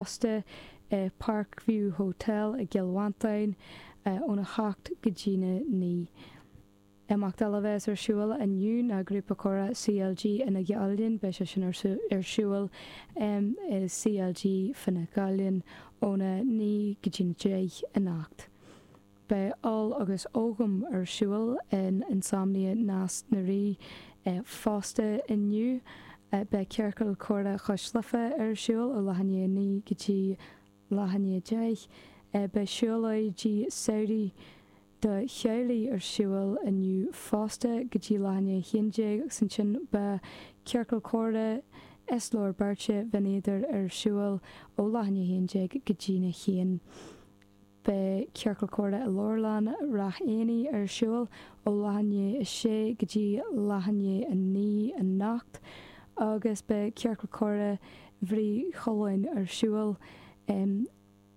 Fosta i Parkview Hotel i gCill Mhantáin óna 7 go dtína 9. Imeacht eile a bheas ar siúl inniu ná Grúpa Comhrá CLG Fhine Gaillimh. Beidh sé sin ar siúl i CLG Fine Gaillimh óna 9 go dtína 10 anocht. Beidh Ól agus Ogham ar siúl in Insomnia Nás na Rí fosta inniu. Beidh Ciorcal Comhrá Chois Life ar siúl ó leath i ndiaidh 9 go dtí leath i ndiaidh 10. Beidh siúlóidí samhraidh do theaghlaigh ar siúl inniu fosta go dtí leath i ndiaidh 11 agus ansin beidh Ciorcal Comhrá is Leabhar Beirte Bhinn Éadair ar siúl ó leath i ndiaidh 11 go dtína 1. Beidh Ciorcal Comhrá i Leabharlann Ráth Éanaigh ar siúl ó leath i ndiaidh 6 go dtí leath i ndiaidh 9 anocht agus beidh Ciorcal Comhrá Bhrí Chualáin ar siúl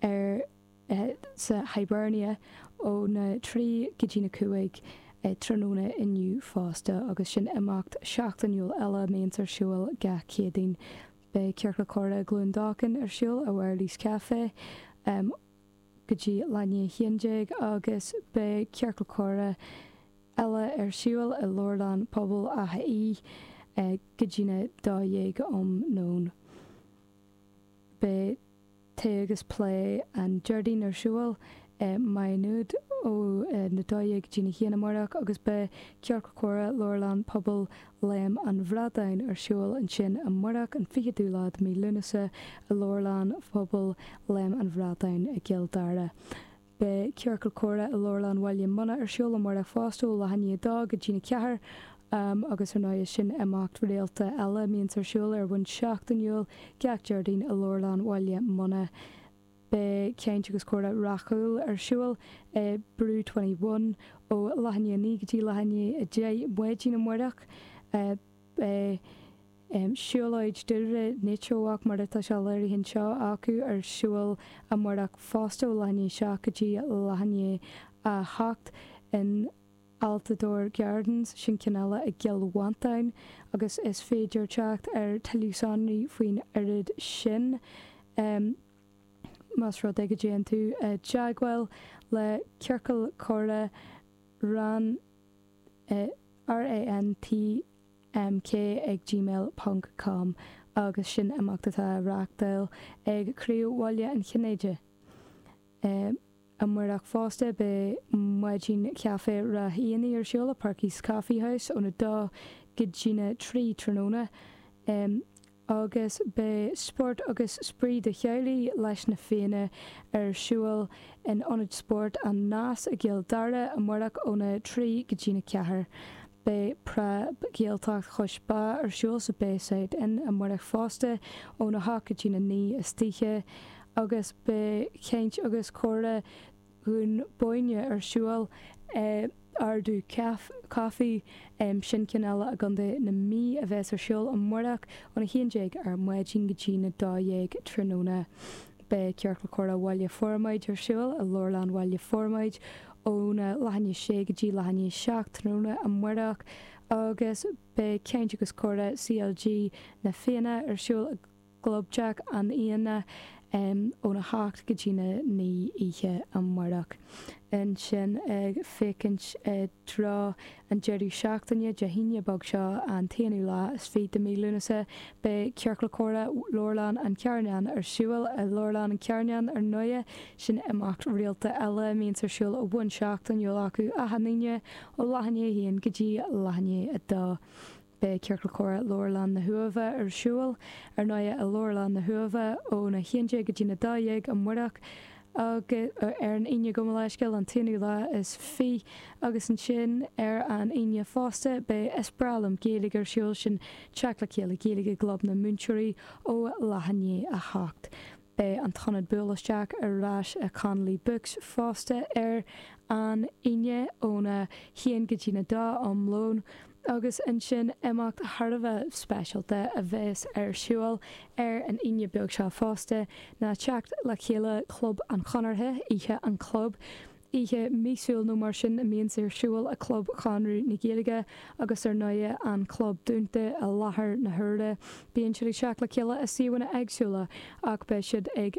ar sa Hibernia óna 3 go dtí na 5 tráthnóna inniu fosta agus sin imeacht seachtainiúil eile a mbíonns ar siúl gach Céadaoin. Beidh Ciorcal Comhrá Glúin Dócháin ar siúl i Wireless Café go dtí leath i ndiaidh 11 agus beidh Ciorcal Comhrá eile ar siúl i Leabharlann Pobail Átha Í go dtína 12 um nóin. Beidh. Tae agus Plé an Déardaoin ar siúl i Maigh Nuad ó na 12 go dtí na 1 amárach agus beidh Ciorcal Comhrá Leabharlann Pobail Léim an Bhradáin ar siúl ansin amárach, an 20ú lá de mhí Lúnasa, i Leabharlann Phobail Léim an Bhradáin i gCill Dara. Beidh Ciorcal Comhrá i Leabharlann Bhaile Munna ar siúl amárach fosta ó leath i ndiaidh 2 go dtína 4 agus ar ndóigh sin imeacht rialta eile a mbíonns ar siúl ar bhonn seachtainiúil gach Déardaoin i Leabharlann Bhaile Munna. Beidh Caint agus Comhrá Ráth Chúil ar siúl i Brew 21 ó leath i ndiaidh 9 go dtí leath i ndiaidh 10 maidin amárach. Beidh. Siúlóid Dúlra Nature Walk mar atá sé léirithe anseo acu ar siúl amárach fosta ó leath i ndiaidh 7 go dtí leath i ndiaidh 8 in Altadore Gardens, sin ceann eile i gCill Mhantáin agus is féidir teacht ar tuilleadh sonraí faoin oiread sin más rud é go dtéann tú i dteagmháil le Ciorcal Comhrá Ran RANT mk ag gmail ponc com agus sin imeacht atá á reáchtáil ag Craobh Bhaile an Chinnéidigh. Amárach fosta beidh maidin chaife Ráth Éanaigh ar siúl i Perky's Coffee House óna 2 go dtína 3 tráthnóna. Agus beidh Spórt agus Spraoi do Theaghlaigh leis na Fianna ar siúl in Ionad Spóirt An Nás i gCill Dara amárach óna 3 go dtína 4. Beidh Preab Ghaeltacht Chois Bá ar siúl sa Bayside Inn amárach fosta óna 8 go dtína 9 istoíche agus beidh Caint agus Comhrá Dhún Bóinne ar siúl i Ardú Coffee, sin ceann eile i gContae na Mí a bheas ar siúl amárach óna 11 ar maidin go dtí na 12 tráthnóna. Beidh Ciorcal Comhrá Bhaile Formaid ar siúl i Leabharlann Bhaile Formaid óna leath i ndiaidh 6 go dtí leath i ndiaidh 7 tráthnóna amárach agus beidh Caint agus Comhrá CLG Na Fianna ar siúl i gClubtheach an Fhianna óna 7 go dtí na 9 oíche amárach. Ansin ag féachaint i dtreo an deireadh seachtaine, Dé hAoine beag seo, an t-aonú lá is fiche de mhí Lúnasa, beidh Ciorcal Comhrá Leabharlann an Charnáin ar siúl i Leabharlann an Charnáin ar ndóighe. Sin imeacht rialta eile a mbíonns ar siúl ó bhonn seachtainiúil acu achan Aoine ó leath i ndiaidh a haon go dtí leath i ndiaidh a dó. Beidh Ciorcal Comhrá Leabharlann na hUaimhe ar siúl, ar ndóighe, i Leabharlann na hUaimhe óna 11 go dtína 12 amárach agus ar an Aoine gabh mo leithscéal, an t-aonú lá is fiche agus ansin ar an Aoine fosta beidh Is Breá Liom Gaeilge ar siúl, sin teacht le chéile Gaeilge i gClub na Múinteoirí ó leath i ndiaidh a hocht. Beidh an t-ionad Buail Isteach ar ais i Connolly Books fosta ar an Aoine óna haon go dtína dó um lón agus ansin imeacht thar a bheith speisialta a bheas ar siúl ar an Aoine beag seo fosta ná teacht le chéile Chlub an Chonartha, Oíche an Chlub. Oíche míosúil nó mar sin a mbíonns ar siúl i Club Chonradh na Gaeilge agus ar ndóigh an club dúnta i láthair na huaire. Bíonn siad ag teacht le chéile i suíomhanna éagsúla ach beidh siad ag.